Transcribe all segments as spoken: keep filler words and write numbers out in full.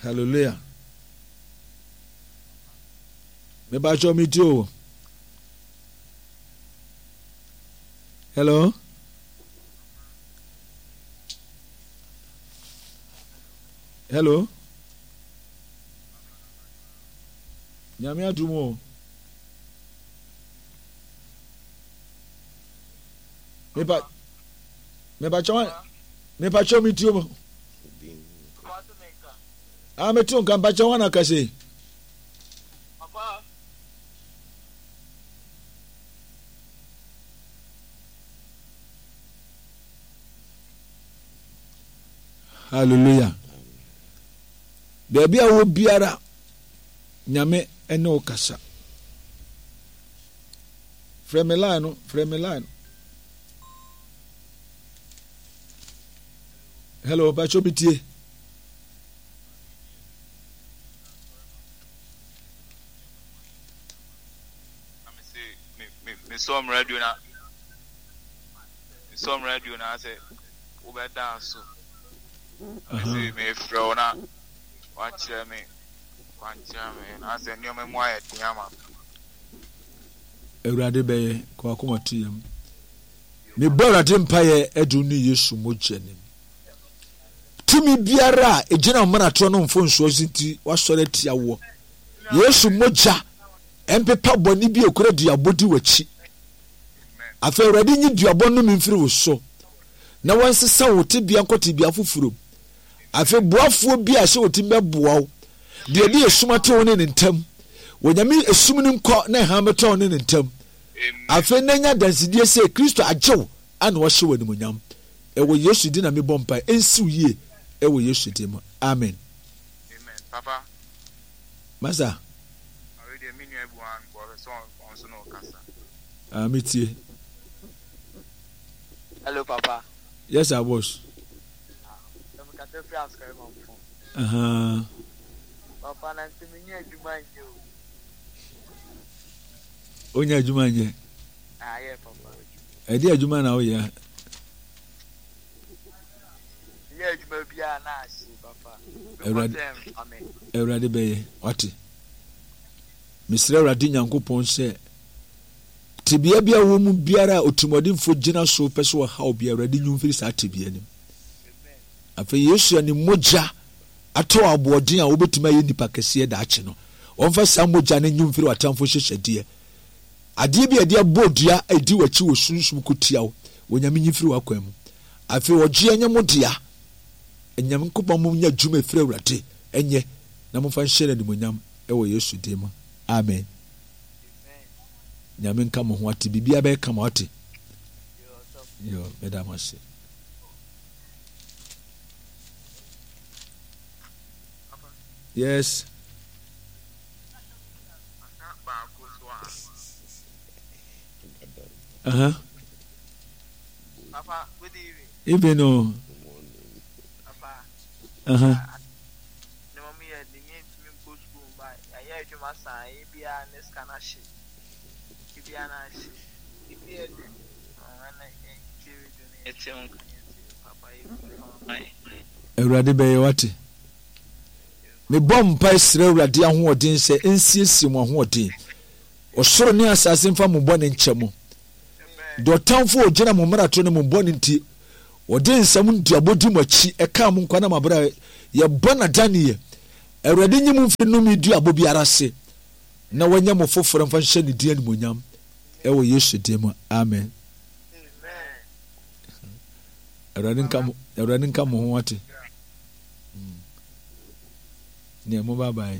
Hallelujah. Mebakyɛ me ti o. Hello. Hello. Nyame adum o. Mepa mepakyɛ mepakyɛ me ti o. Ah, mete wo nka mpakyɛ hɔ na kasa yi. Hallelujah. Baabi a wɔ biara, Nyame ne wo kasa. Frɛ me line no, frɛ me line. Hello, mpakyɛ obi tie. Mesɔm radio na mesɔm radio na sɛ wobɛda so. Mese mefrɛ wo na wakyerɛ me kwankyerɛ me na sɛ nneɛma mu ayɛ den ama me. Awurade bɛyɛ kɔ akoma to yam. Mebɔ Awurade mpaeɛ ɛde ne Yesu mogya nim. Tumi biara a ɛgyina mmaratoɔ no mfonsoɔ so nti wasɔre atia woɔ. Yesu mogya ɛmpepa bɔne bi ekura duabɔ di w'akyi. Afei Awurade nyi duabɔ nnome mfiri wo so na wɔnsesa wo tebea nkɔ tebea foforɔ mu. Afei boafoɔ bi a ɛsɛ ɔtumi bɛboa wo deɛ ɛde esum ato wo ne ne ntam. Onyame esum no nkɔ na ɛhan bɛtɔ wo ne ne ntam. Afei na nya adansedie sɛ Kristo agye wo ana wahyɛ wo animuonyam. Ɛwɔ Yesu din na mebɔ mpae. Ɛnsi wo yie ɛwɔ Yesu din mu. Amen. Amen. Papa. Masa. Awe deɛ me nua bi wɔn bɔ sɛ ɔn so na ɔkasa. Ah, me tie. Hello, Papa. Yes, sir, boss. Ah, me kasa firi asukari mamfo. Uh-huh. Papa, na nti me nyɛ adwuma nyɛ o. Onya adwuma nyɛ. Ah, yeah, Papa. Ɛde adwuma na woyɛ. Nyɛ adwuma biara na ahye, Papa. Awurade Awurade bɛyɛ, wate. Mesrɛ Awurade Nyankopɔn sɛ tebea bi a wɔ mu biara a otirimɔdenfoɔ gyina so pɛ sɛ ɔhaw bi Awurade nyi mfiri saa tebea no mu. Afei Yesu a ne mogya atɔ aboɔden a wobɛtumi ayɛ nipa kɛseɛ daakye no, wɔmfa saa mogya no nyi mfiri w'atamfo nhyehyɛdeɛ. Adeɛ bi a yɛde abɔ dua a ɛdi w'akyi wɔ sunsum ko tia wo, Onyame nyi mfiri w'akwan mu. Afei ɔgyeɛ nyɛ mo dea. Nyankopɔn mo nyɛ adwuma ɛfiri Awurade ɛnyɛ na momfa nhyɛ no animuonyam ɛwɔ Yesu din mu. Amen. Nyame nka mo ho ate biribiara bɛyɛ kama ate. Yo, meda mo ase. Yes. Uh-huh. Papa, good evening. Evening, oh. Papa. Uh-huh. Ne mom yɛ de yɛn ntumi nkɔ sukuu mba yɛayɛ adwuma saa ebia ne sika no ahye ebia na ahye ebi yɛ de ɛna yɛn radio no yɛte ho nka yɛte papa yɛ fi fa ma yɛ. Awurade bɛyɛ wate. Mebɔ mpae srɛ Awurade ahoɔden sɛ ɛnsiesie mo ahoɔden. Ɔsoro ne asase mfa mo bɔne nkyɛ mo. Deɛ ɔtamfo a ɔgyina mo mmarato ne mo bɔne nti, ɔde nsɛm nduabɔ di mo akyi, ɛkaa mo nkwa na mo abrɛ yɛbɔ no adaneɛ. Awurade nyi mo mfiri nnome duabɔ biara ase na wanyɛ mo foforɔ mfa nhyɛ ne din animuonyam ɛwɔ Yesu din mu. Amen. Awurade nka mo, Awurade nka mo ho ate. Nea mo bye bye.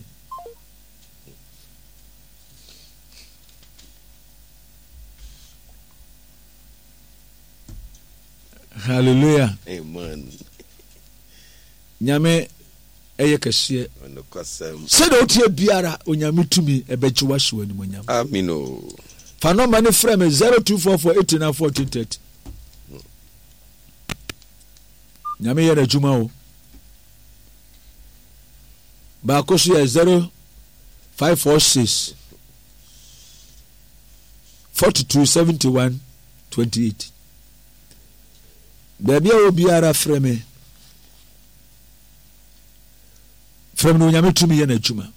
Hallelujah. Amen. Nyame ɛyɛ kɛseɛ. Sɛdeɛ woteɛ biara Onyame tumi ɛbɛgye wahyɛ wɔ animonyam. Amen o. Fa nɔmba no frɛ me zero two four four eight nine fourteen thirty. Nyame yɛ n'adwuma o. Baako so yɛ zero five four six forty two seventy one twenty eight. Baabi a wɔ biara frɛ me. Frɛ Frɛ me na Onyame tumi yɛ n'adwuma.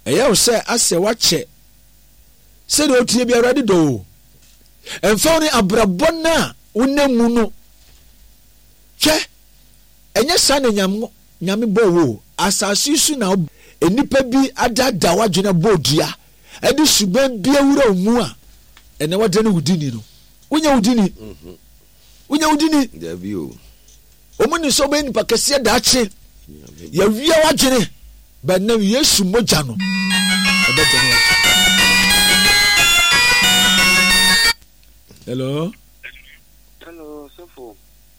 Ɛyɛ wo sɛ asɛ wakyɛ sɛdeɛ wotie bi Awurade dɔ o. Ɛmfa wo ne abrabɔ no a wonam mu no. Hwɛ, ɛnyɛ saa na Nyame, Nyame bɔɔ wo. Asase yi so na nnipa bi adaadaa w'adwene abɔ dua ɛde suban bi awura wo mu a ɛnɛ wadane wo dini no. Wonyɛ wo dini. Mhm. Wonyɛ wo dini. Dabi o. Wɔn nim sɛ wobɛyɛ nipa kɛseɛ daakye. Yɛawia w'adwene. Bɛnam Yesu mogya no ɛbɛdane w'adwene. Hello. Hello, sɔfo.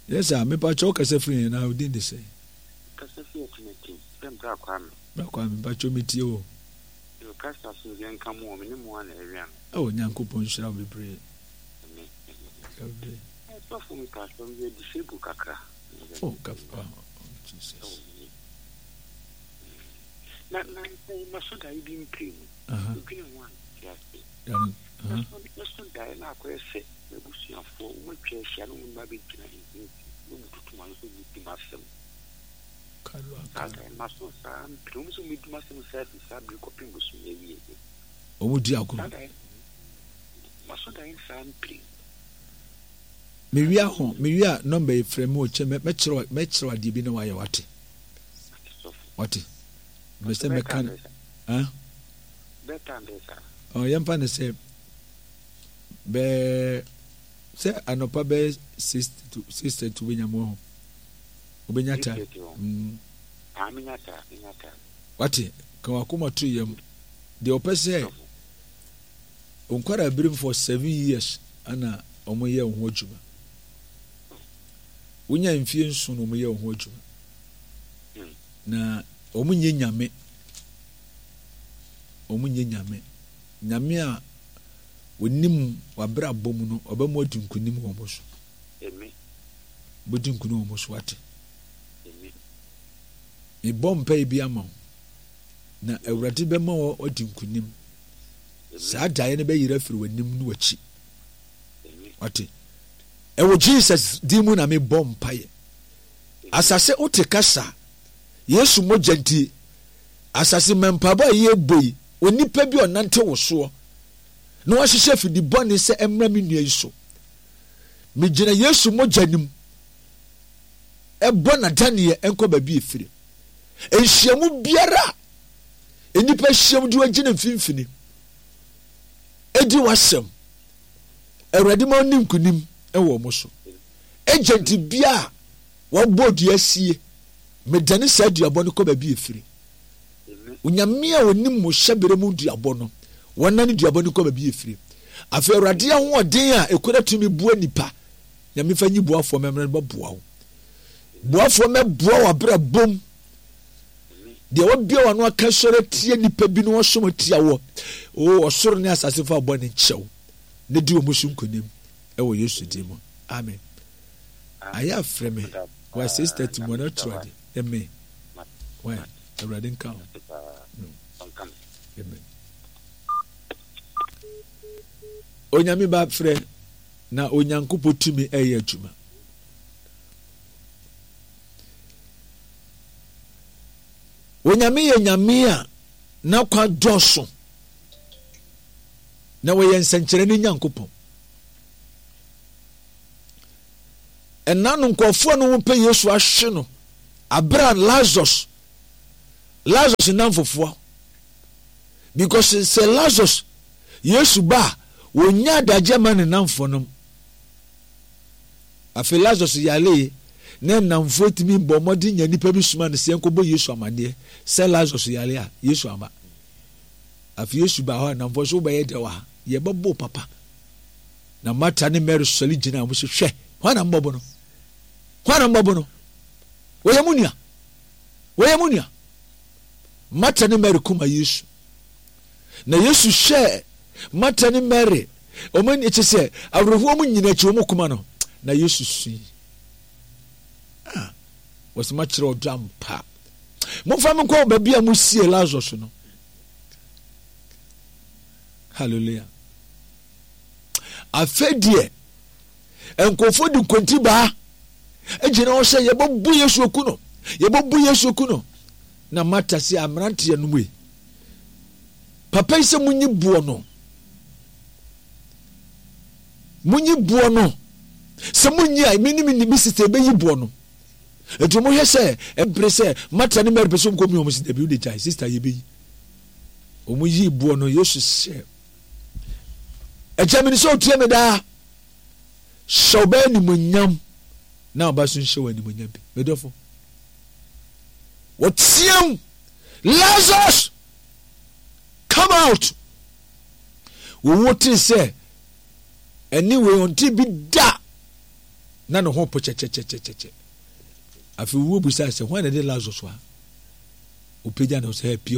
Yes sir, mepa kyɛw kasa firi yɛn na odin de sɛ. Kasa fi atinati, sɛ bra Kwame. Bra Kwame, mepa kyɛw metie o. Yo, kasa asomdwe nka mo o, me ne mo a na ɛwia no. Oh, Nyankopɔn nhyira wo bebree. Amen. Amen. Sɔfo mepa kyɛw meyɛ disable kakra. Oh, kakra. Oh, Jesus. Na na maso daeɛ bi mpire mu. Odwene ho a nte ase. Mɛso daeɛ na akɔyɛ sɛ m'abusuafoɔ wɔatwa ahyia na wɔn mma bɛgyina mfimfini na wɔtutu m'ano sɛ wɔbɛdi m'asɛm. Saa daeɛ no maso saa mpire wɔn sɛ wɔbɛdi m'asɛm saa fi saa bere kɔpem bosome awie. Wɔn di agorɔ. Saa daeɛ maso daeɛ saa mpire. Mewia ho mewia nɔmba yi frɛ me wɔ kyɛ mɛkyerɛ mɛkyerɛ adeɛ bi na wayɛ wate. Wate. Mɛ sɛ mɛka ah. Ɔ yɛmfa no sɛ bɛɛ sɛ anɔpa bɛyɛ six to six thirty wobɛnya mu ho wobɛnya ta mm. Wate ka wakoma to yam deɛ ɔpɛ sɛ nkwara birim for seven years ana wɔyɛ wo ho adwuma wonya mfie nson na wɔyɛ wo ho adwuma na wɔn nyɛ nyame wɔn nyɛ nyame. Nyame a onim w'abrabɔ mu no, ɔbɛma wadi nkonim wɔ wɔn so. Bɛdi nkonim wɔ wɔn so ate. Mebɔ mpae bi ama wo, na Awurade bɛma wadi nkonim. Saa daeɛ no bɛyera afiri w'anim ne w'akyi. Wate? Ɛwɔ Jesus din mu na mebɔ mpaeɛ. Asase wote kasa, Yesu mogya nti, Asase ma mpaebɔ a yɛrebɔ yi, onipa bi a ɔnante wo soɔ na wahyehyɛ afidi bɔne sɛ ɛmmra me nua yi so. Megyina Yesu mogya no mu ɛbɔ n'adaneɛ nkɔ baabi efiri. Nhyiamu biara a nnipa hyiam de wagyina mfimfini edi w'asɛm. Awurade ma ɔni nkonim wɔ wɔn so. Agent bi a wɔabɔ dua sie Medane saa duabɔ no kɔ baabi a ɛfiri. Onyame a ɔnim mo hyɛberɛ mu duabɔ no, wɔnane duabɔ no kɔ baabi a ɛfiri. Afei Awurade ahoɔden a ɛkura tumi boa nipa, Nyame fa nyi boafoɔ mɛmmerɛ no bɛboa wo. Boafoɔ mɛboa wo abrabom. Deɛ wabia w'ano aka sɔre atia nipa bi na ɔsom atia wɔ, o ɔsoro ne asase fa bɔ ne nkyɛw na di wɔn so nkonim ɛwɔ Yesu din mu. Amen. Ayɛ afrɛ me wa six thirty mu ɔno kyerɛ ade amen why awurade nka ho no amen onyame ba frɛ na onyankopɔn tumi ɛyɛ adwuma onyame yɛ nyame a n'akwa dɔɔso na wɔyɛ nsɛnkyerɛnne nyankopɔn Ɛna no nkurɔfoɔ no wɔpɛ Yesu ahwe no abere a Lazarus Lazarus nnamfofoɔ because sɛ Lazarus Yesu ba a wɔnya adagyeɛ ma ne nnamfoɔ nom afei Lazarus yalee na nnamfoɔ tumi bɔ mmɔden nya nipa bi soma no sɛ yɛnkɔbɔ Yesu amaneɛ sɛ Lazarus yare a Yesu ama afei Yesu ba hɔ a nnamfoɔ so wobɛyɛ dɛ wɔ ha yɛbɛbɔ papa Na Marta ne Mary sɔre gyinaa wɔn so, Hwɛ, hwan na mobɛbo no? Hwan na mobɛbo no? Wɔyɛ mo nua. Wɔyɛ mo nua. Marta ne Mary kuma Yesu. Na Yesu hwɛɛ Marta ne Mary, wɔn ani kyɛ sɛ awerɛhoɔ mu nyina akyi wɔn kuma no. Na Yesu sui. Ah, wɔsɛ makyerɛ ɔdɔ ampa. Momfa me nkɔ baabi a mosie Lazarus no. Hallelujah. Afei deɛ nkurɔfoɔ de nkontibaa gyina hɔ sɛ yɛbɛbu Yesu aku no, yɛbɛbu Yesu aku no. Na Marta se, Ameranteɛ nom ei, papa yi sɛ monyi boɔ no, monyi boɔ no, sɛ monyi a, me ne me me sista ɛbɛyi boɔ no. Enti wɔhwɛ sɛ ɛbere sɛ Marta ne Mary pɛ sɛ wɔkɔ mu wɔn sɛ dabi wode gyae sista yɛbɛyi. Wɔn yi boɔ no Yesu sɛ agya mene sɛ otie me daa hyɛ ɔbaa animonyam na ɔba so nhyɛ wɔ animonyam bi medɔfo wɔteam Lazarus come out wɔwɔ tee sɛ ɛne wei ɔnte bi da na ne ho po kyɛkyɛkyɛkyɛkyɛ afei wuo busa sɛ hwan na ɛde Lazarus a ɔpagya ne ho sɛ pie